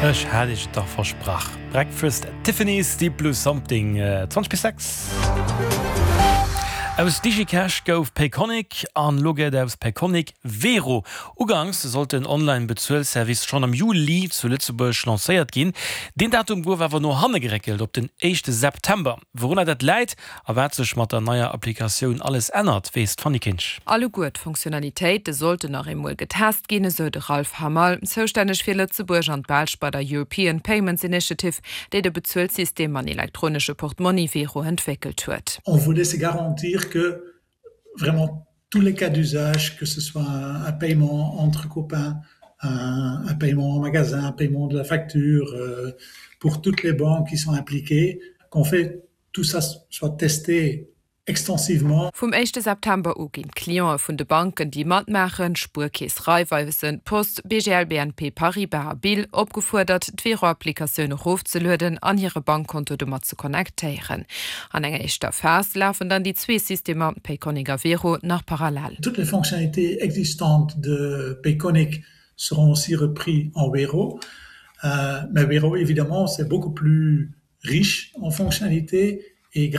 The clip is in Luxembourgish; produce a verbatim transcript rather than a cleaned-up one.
Ech hat iech et dach versprach. Breakfast at Tiffany's, Deep Blue Something, zwanzeg bis sechs. Aus DigiCash gouf Payconiq an lo gëtt aus Payconiq Wero. Uganks sollt den Online-Bezuelservice schonn am Juli zu Lëtzebuerg lancéiert ginn. Deen Datum gouf awer no hanne geréckelt op den éischte September. Wourunner dat läit a wat sech mat der neier Applikatioun alles ännert, weess d'Fanny Kinsch. Alleguer d'Fonctionnalitéite sollten nach eemol getest ginn, esou de Ralph Hammerl, zoustänneg fir Lëtzebuerg an d'Belsch bei der European Payments Initiative, déi de Bezuelsystem an elektronesche Portmonni Wero entwéckelt huet. On voulait se garantir que vraiment tous les cas d'usage, que ce soit un, un paiement entre copains, un, un paiement en magasin, un paiement de la facture, euh, pour toutes les banques qui sont impliquées, qu'on fait tout ça soit testé extensivement. Vum éischte September u ginn d'Cliente vun de Banken, déi matmaachen, Spuerkeess, Raiffeisen, Post, B G L B N P Paribas a Bill, opgefuerdert, d'Wero-Applikatioun erofzelueden an hire Bankkonto domat ze connectéieren. An enger éischter Phas lafen dann déi zwee Systemer, Payconiq a Wero, nach parallel. Toutes les fonctionnalités existantes de Payconiq seront aussi repris en Wero. Euh, mais Wero, évidemment, c'est beaucoup plus riche en fonctionnalités et